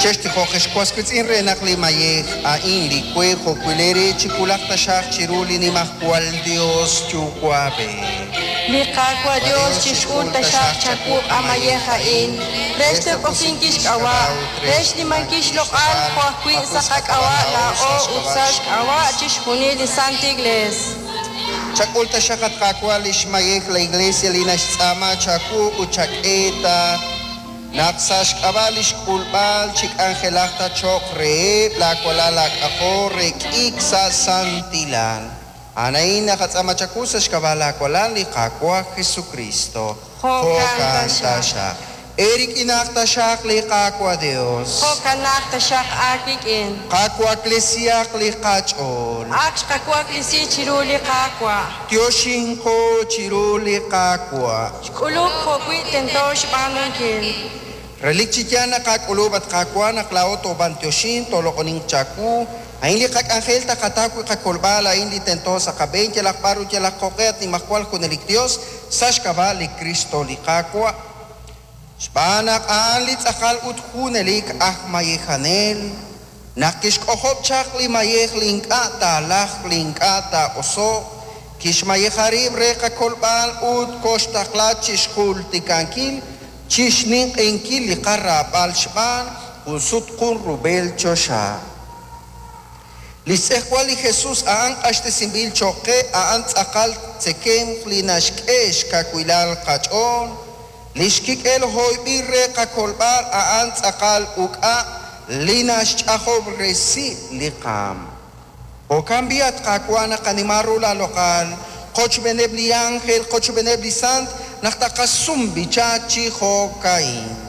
Chextijoq ex was wiitz'in re naq li mayej a'in li we jo'wi' leere chiwulaq taxaq chiru li Nimajwal Yos Yuwa'b'ej. Li Qaawa' Yos chixk'ul taxaq chawuq' a mayej a'in re xloq'oninkil xk'ab'a', re xnimankil xloq'al jo' ajwi' sa' qak'ab'a' laa'o ut sa' xk'ab'a' chixjunil li Santa Iglees. Chak'ul taxaq, at Qaawa', li xmayej la Iglesia li naxtz'aama chawu ut chak'e ta naq sa' xk'ab'a' li xk'ulb'al chik'anjelaq ta cho'q reheb' laawalal laak'ajol re k'iik sa' santilal. A'an a'in naqatz'aama chawu sa' xk'ab'a' laawalal li Qaawa' Jesucristo. Jo'kan taxaq. Eerik'inaq taxaq li Qaawa' Dios. Jo'kanaq taxaq aawik'in. Qawaklesihaq li qach'ool. Ak xqawaklesi chiru li Qaawa'. Yoxinqo chiru li Qaawa'. Xk'ulub' jo'wi' tento xb'aanunkil. Relik chi yaal naqak'ulub', at Qaawa', naq laa'o toob'antioxin, tooloq'onink chawu. A'in li qak'anjel taqataw wi' qakolb'al, a'in li tento sa' qab'een yalaq b'ar ut yalaq jo'q'e, at Nimajwal Junelik Dios, sa' xk'ab'a' li Kristo li Qaawa'. Xb'aan naq a'an li tz'aqal ut junelik aj mayejanel, naq kixk'ojob' chaq li mayej li ink'a' taalajq li ink'a' taa'oso'q, kixmayeja rib' re qakolb'al ut koxtaqla chixjultikankil chixninq'ehinkil li qaraab'al xb'aan jun sut jun rub'el choxa. Li xtz'ejwal li Jesus a'an q'axtesinb'il cho'q qe, a'an tz'aqal tzekemq li naxk'e xkawilal qach'ool. Li xkik'el hoyb'il re qakolb'al a'an tz'aqal uk'a' li naxch'ajob'resi li qaam. Jo'kan b'i', at Qaawa', naqanima ru laaloq'al qochb'eeneb' li ánjel, qochb'eeneb' li sant, naq taqasum b'icha chi jo'ka'in.